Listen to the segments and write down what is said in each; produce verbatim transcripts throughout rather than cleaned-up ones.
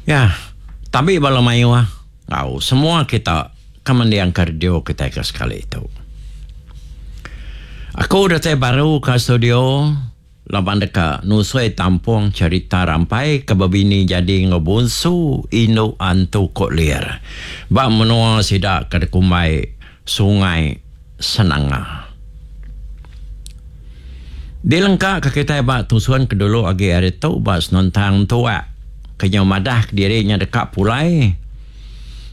Ya, tabi bala mayuh enggau semua kita ke mendingka radio kitai ke sekali tu. Aku datai baru ke studio laban deka nusui tampung cherita rampai ke bebini jadi enggau bunsu indu antu Kok Lir ba menua sida ke dikumbai Sungai Senanga. Dilengka ke kitai ba tusun ke dulu agi ari tu ba senentang tuak ke nyau madah kediri nya deka pulai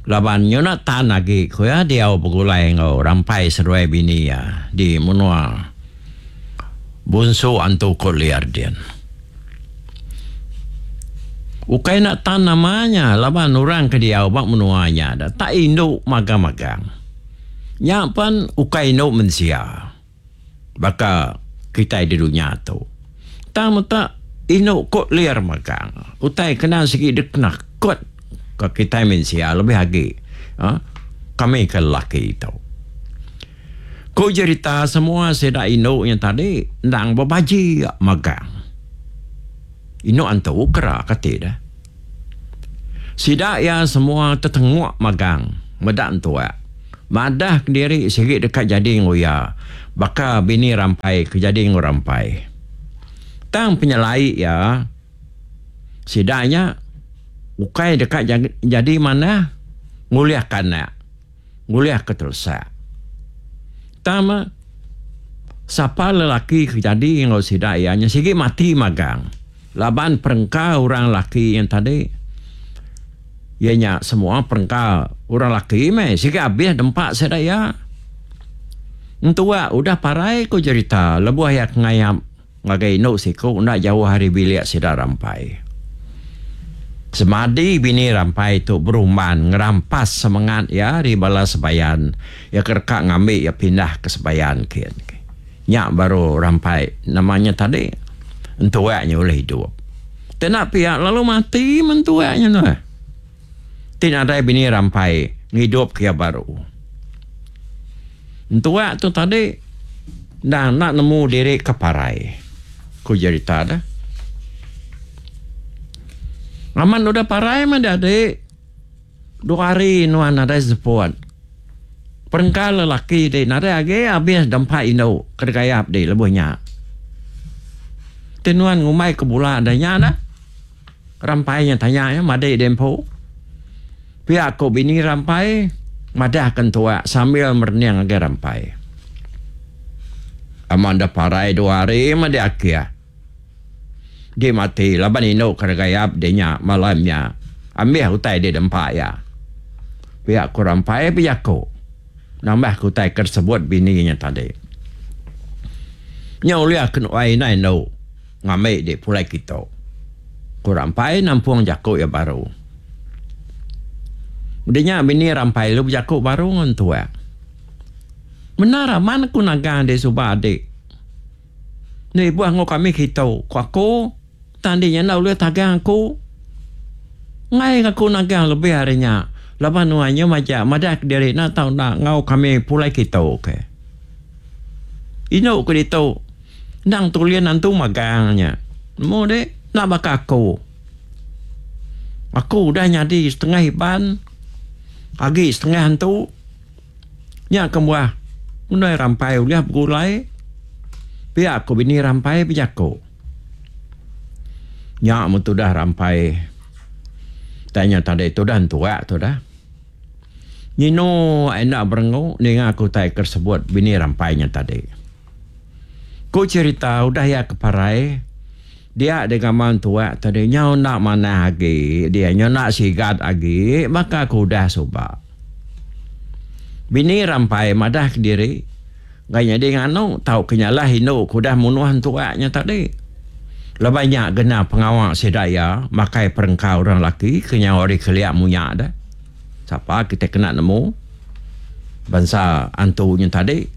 laban nyuna tan agi ku iya diau begulai enggau rampai seduai bini iya di menua Bunsu Antu Kok Liar din. Ukai enda tan nama nya laban orang ke diau ba menua nya da tak indu magang-magang. Nya pen ukai indu mensia baka kitai di dunya tu. Tang meta indu Kok Liar magang. Utai kena sigi dikenakut ka kitai mensia lebih agi uhh kami ke lelaki tu. Ku jerita semua sida indu nya tadi endang bebaji magang. Indu antu kera kati deh. Sida iya semua tetenguk magang meda entuak. Madah kediri sigi deka jadi enggau iya baka bini Rampai ke jadi enggau Rampai. Tang penyelai iya sida nya ukai deka jadi manah ngulihka anak. Ngulihka telesak. Tang meh sapa lelaki ke jadi enggau sida iya nya sigi mati magang laban perengka orang laki nya tadi iya nya semua perengka orang laki meh sigi abis dempa sida iya. Entua udah parai ku jerita lebuh iya ke ngayap Ngagai indu siku enda jauh ari bilik sida Rampai. Semadi bini Rampai tu berumban ngerampas semengat iya ari bala sebayan iya ke deka ngambi iya pindah ke sebayan kin. Nya baru Rampai nama nya tadi entuak nya ulih idup. Ti enda pia lalu mati meh entuak nya nuh. Ti nadai bini Rampai ngidup ke iya baru. Entuak tu tadi endang enda nemu diri ke parai, ku jerita deh. Amat udah parai meh dadi dua hari nuan nadai seput. Perengka lelaki ti nadai agi abis dempa indu ke degayap di lebuh nya. Ti nuan ngumbai ke bula deh nya dah. Rampai nya tanya iya madi deh empu. Pia ku bini Rampai madah ke entua sambil merening ngagai Rampai. Amat deh parai dua hari meh deh akih. Di mati laban indu ke regayap deh nya malam nya ambih utai deh dempa iya. Pia ku Rampai bejaku nambah ke utai ke disebut bini nya tadi. Nya ulih ke nuai indai endu. Ngambi dik pulai kitu. Ku Rampai nampung jaku iya baru. Udah nya bini Rampai lalu bejaku baru enggau entuak. Bendar amat aku nagang dik suba dik. Enda ibuh enggau kami kitu, ku aku, tang dik nya enda ulih tagang aku. Enggai aku nagang lebih ari nya laban nuan nya majak madah kediri enda tau enda enggau kami pulai kitu ke. Indu ke ditu. Endang tulin antu magang nya. Nemu dik, enda baka aku. Aku udah nyadi setengah Iban, agi setengah antu. Nya kebuah undai Rampai ulih begulai. Pia ku bini Rampai bejaku. Nya meh tudah Rampai tai nya tadi tudah entuak tudah. Nyinu enda berengu ninga ku utai ke sebut bini Rampai nya tadi. Ku cherita udah iya ke parai, dia digamal entuak tadi nyau enda manah agi dia nyau enda sigat agi baka ke udah suba. Bini Rampai madah kediri enggai nyadi nganu tauka nyalah indu ke udah munuh entuak nya tadi. Laban nya gena pengawa sida iya makai perengka orang laki ke nyau ari kelia munya deh. Sapa kitai kena nemu bansa antu nya tadi.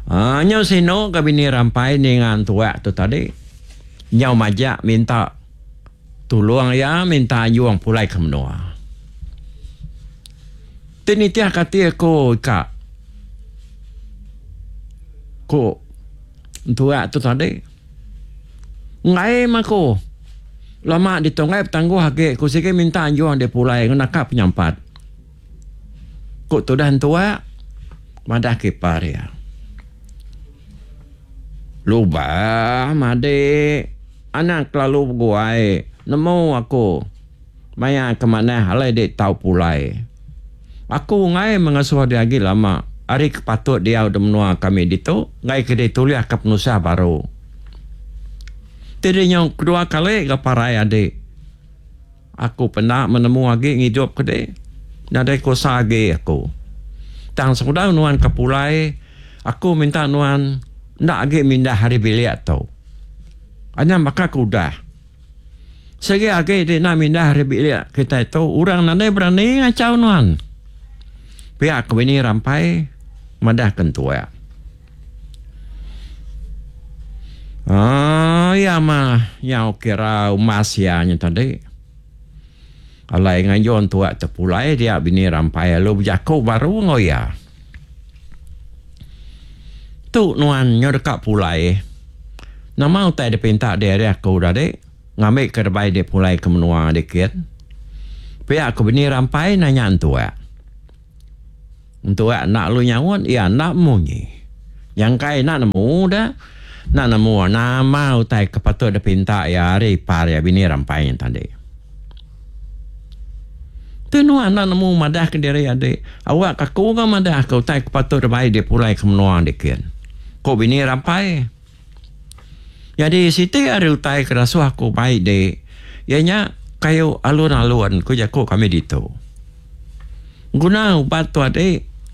Aaa nyau sinu ga bini Rampai ninga entuak tu tadi. Nyau majak minta tulung iya minta anjung pulai ke menua. Ti nitih ka ati aku ika ku entuak tu tadi. Enggai meh aku Lama ditu enggai betangguh agi ku sigi minta anjung dek pulai enggau naka penyampat. Ku tudah entua madah ke ipar iya. Lubah madik anang kelalu beguai nemu aku maya ke manah alai dek tau pulai. Aku enggai mengasuh dek agi lama ari ke patut diau da menua kami ditu enggai ke dek tulih ke penusah baru. Ti dek nyau kedua kali ga parai adik. Aku penda menemu agi ngidup ke dek. Nadai kuasa agi aku. Tang sebedau nuan ke pulai aku minta nuan enda agi mindah ari bilik tu. Anang baka ke udah. Sigi agi ti enda mindah ari bilik kitai tu orang nadai berani ngachau nuan. Pia ke bini Rampai madah ke entua. Aaa iya mah nyau kira umbas iya nya tadi. Alai nganjung entua tepulai dia bini Rampai lalu bejaku baru enggau iya. Tu nuan nyau deka pulai. Nama utai dipinta diri aku tadi ngambika debai dek pulai ke menua dikit. Pia ku bini Rampai nanya entua. Entua enda lalu nyaut iya enda munyi. Nyangkai enda nemu da enda nemu nama utai ke patut dipinta iya ari ipar iya bini Rampai nya tadi. Tu nuan enda nemu madah ke diri adi. Awak ke aku ga madah ke utai ke patut dibai dek pulai ke menua dikit. Ku bini Rampai. Nyadi siti ari utai ke dasuh aku bai dik iya nya kayu alun-alun ku jaku kami ditu. Guna ubat tu adi